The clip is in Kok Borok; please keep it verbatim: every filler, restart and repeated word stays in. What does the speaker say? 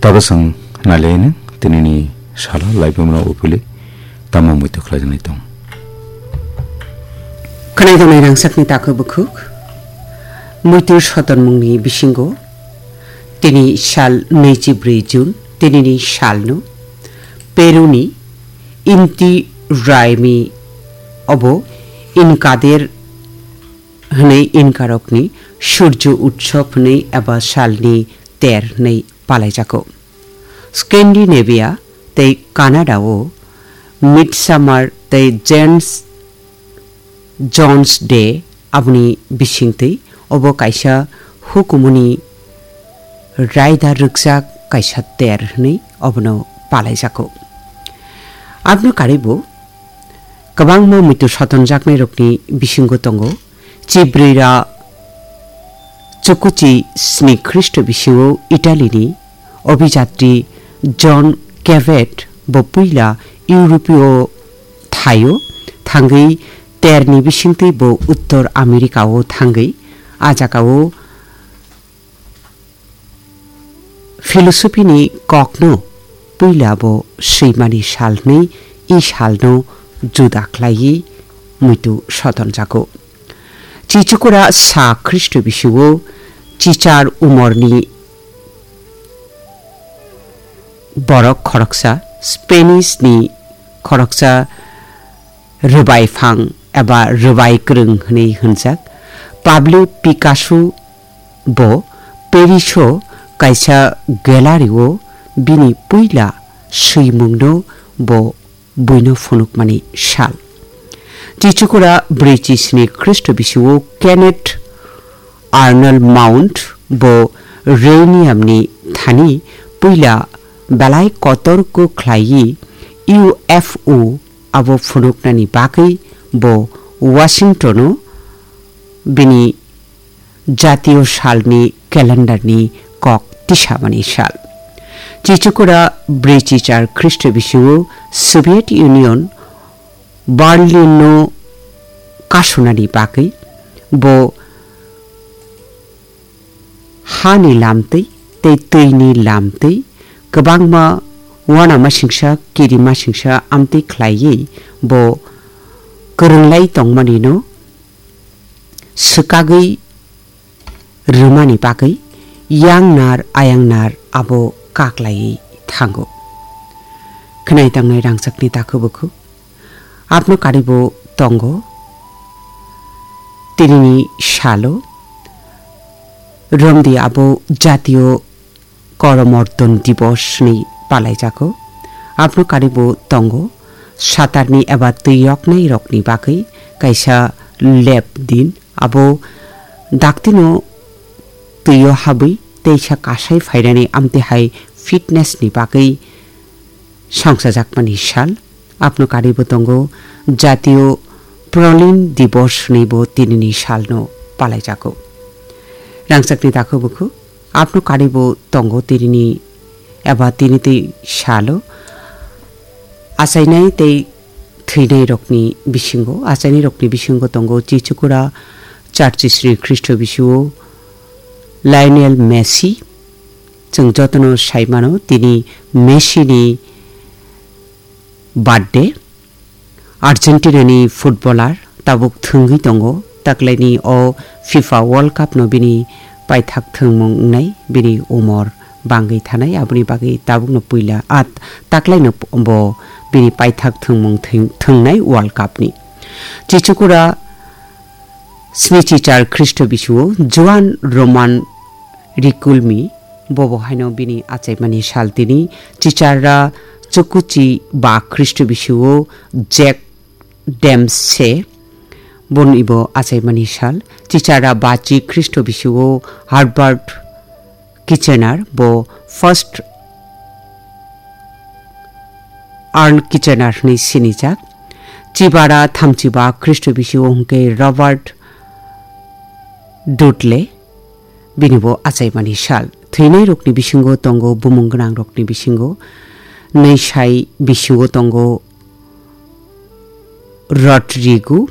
Tabasang nalaini tinini salo laibumno upili tamo muitu khlaijaknai tong. Khwnai tongnai rangchakni takhuk bukhuk. Muitu sotonmungni bisingo tini sal naichi bwrwi June, tinini salno Peruni Inti Raymi obo Inkader hwnwi Inkarokni Surjo Utsob hwnwi eba salni ter hwnwi palaijago. Scandinavia tei Canada-o Midsummer tei James Jones Day aboni bisingtwi obo kaisa hukumuni raida rwkjak kaisa ter hwnwi obono palaijago. Aboni karwibo kwbangma muitu sotonjaknairokni bisingo tongo Chibrira chukuchi sni Khristo bisingo Italy ni obijatri John Cabot bo puila Europe o thaio thangwi ter ni bisingtwi bo Uttor America o thangwi a jaga o philosophy ni kokno puila bo swimani sal hwnwi i salno juda khlaiwi muitu sotonjago. Chichukura sa Khristo bisingo chichar umorni borok khoroksa, Spanish ni khoroksa rwbai phang eba rwbai kwrwng hwnwi hwnjak Pablo Picasso bo Paris o kaisa gallery o bini puila swimungno bo buino phunukmani sal. Chichukura brwi chisni Khristo bisingo Kenneth Arnold Mount bo Rhenium ni thani puila belai kotor kuk khlaiwi U F O abo phunuknani bagwi bo Washington o bini jatiyo salni calendar ni kok tisamani sal. Chichukura brwi chichar Khristo bisingo Soviet Union Berlin no kasunani bagwi bo hani lamtwi tei twini lamtwi kwbangma uanamasingsa kirimasingsa amtwi khlaiwi bo kwrwnglai tongmani no swkagwi rwmani bagwi yang nar ayang nar abo kaklaiwi thango. Khwnai tangnai rangchakni takhuk bukhuk abno karibo tongo. Tinini salo romdi abo jatiyo Koromorton Divos hwnwi palaijago. Abno karibo tongo satarni eba twi yoknai rokni bagwi kaisa lep din. Abo daktino twio habwi teisa kasai phainani amtwi hai fitness ni bagwi songchajakmani sal. Abno karibo tongo jatiyo Prolin Divos hwnwibo tinini salno palaijago. Rangchakni takhuk bukhuk abno karibo tongo tinini eba tini twi salo achainai tei thwinai rokni bisingo, achainai rokni bisingo tongo Chichukura Churchisni Khristo bisingo Lionel Messi. Chwng jotono sai mano tini Messi ni birthday. Argentina ni footballer tabuk thwngwi tongo, taklaini o FIFA World Cup no bini paithak thwngmung wngnai, bini umor bangwi thanai, aboni bagwi tabukno puila at taklaino bo bini paithak thwngmung thwng-, thwngnai World Cup ni. Chichukura snichi char Khristo bisio Juan Roman Riquelme, bobo haino bini achaimani sal tini. Chicharra chukuchi ba Khristo bisio Jack Dempsey, boni bo achaimani sal. Chicharra bachi Khristo bisio Herbert Kitchener, bo first Earl Kitchener hwnwi sinijak. Chibara thamchiba Khristo bisio hwnkhe Robert Dudley, bini bo achaimani sal. Thwinairokni bisingo tongo bumung gwnangrokni bisingo Nwisai bisio tongo Rodrigo,